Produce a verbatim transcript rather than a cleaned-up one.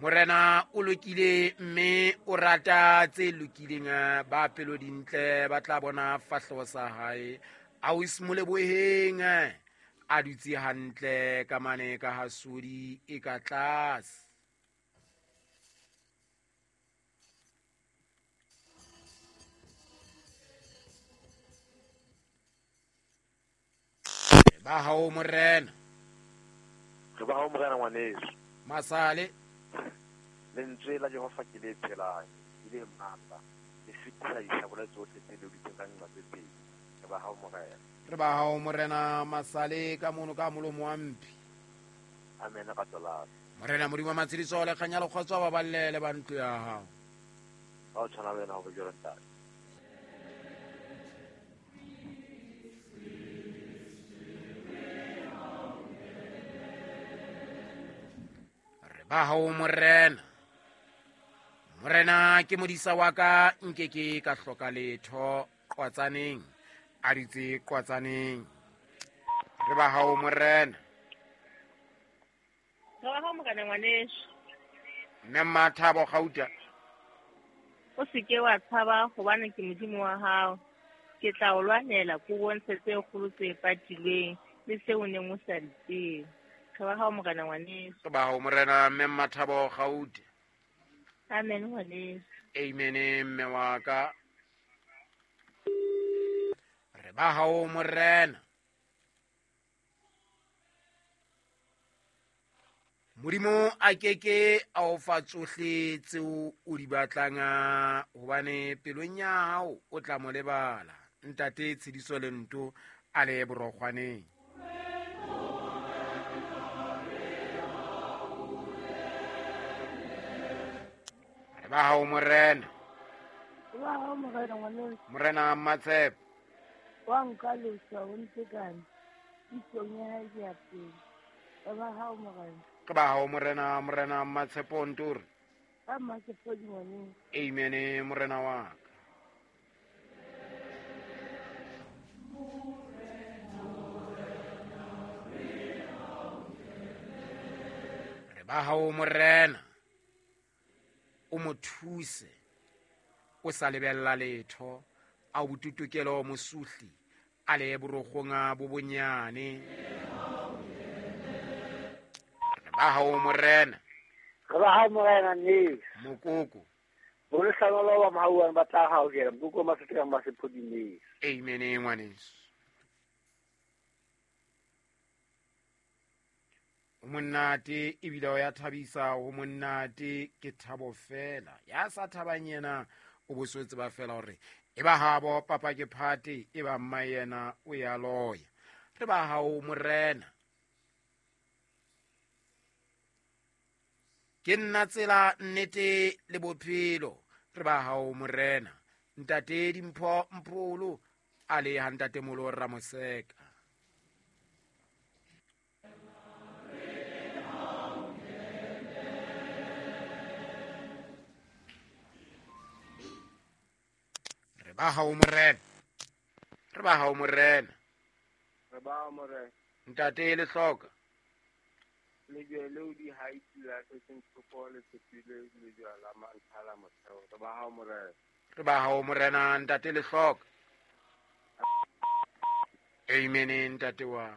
Morena o lokile mme o rata tse lokileng, ba pelo dintle ba tla bona fahleho sa hae. Ausi Moleboheng a dutse hantle ka mane ka hasodi e ka tlase. Ba hao morena. Re ba hao morena ngwaneso. Masale. Lentswe la Jehova ke le phelang, ke le matla, le fetisa disabole tsohle tse leoditsweng ka nqa tse pedi. Re ba hao morena. Re ba hao morena Masale ka mono ka molomo wa mphi. Amen ka tsola. Morena Modimo wa matshediso le kganya le kgotso ba ballele ba ntlo ya hao. Ka o tshwana le wena ho be jwalo ntate. Re ba hao morena. Morena ke modisa wa ka, nke ke ka hloka letho. Qwatsaneng a ditse qwatsaneng. Re ba hao morena. Re ba hao morena ngwaneso. Mme Mmathabo Gauta. O se ke wa tshaba hobane ke Modimo wa hao. Ke tla o lwanela ko bontshe tse kgolo tse patilweng le seo o neng o sa di tsebe. Re ba hao morena ngwaneso. Re ba hao morena mme Mmathabo Gauta. Amen ngwaneso. Amen mme wa ka. Re ba hao morena. Modimo a keke a o fa tsohle tseo o di batlang, hobane pelong ya hao o tla mo lebala. Ntate Tshediso Lento a le borokgwaneng. Re ba hao morena. Re ba hao morena ngwaneso. Morena Mmatshepo. Wa nka leswa o ntekane, isong ya hae ke ya pele. Re ba hao morena. Ke ba hao morena, morena Mmatshepo Ntori. Ka Mmatshepo ngwaneso. Amen morena wa ka. Re ba hao morena. O mo thuse o sa lebella letho, a o botutokelo mosuhli a le borokgong bo bonyane. Re ba hao morena. Re ba hao morena ne. Mokoko. Bo le hlanola ba mahauang ba tla hao kela mokoko ma seteng ba sephodimeng. Amen ngwaneso. O monate ebile o ya thabisa, o monate ke thabo fela. Ya sa thabang yena o boswetse ba fela hore e ba habo papa ke phate, e ba mma yena o ya loya. Re ba hao morena. Ke nna tsela nnete le bophelo. Re ba hao morena. Ntate Dimpho Mpholo a le ha ntate Molo Ramoseka. Re ba hao morena. Re ba hao morena. Re ba hao morena. Ntate le hloka. Lejwe leo di haiti la setseng thoko le tshepile lejwe la mantlha la motheo. Re ba hao morena. Re ba hao morena ntate le hloka. Amen ntate wa.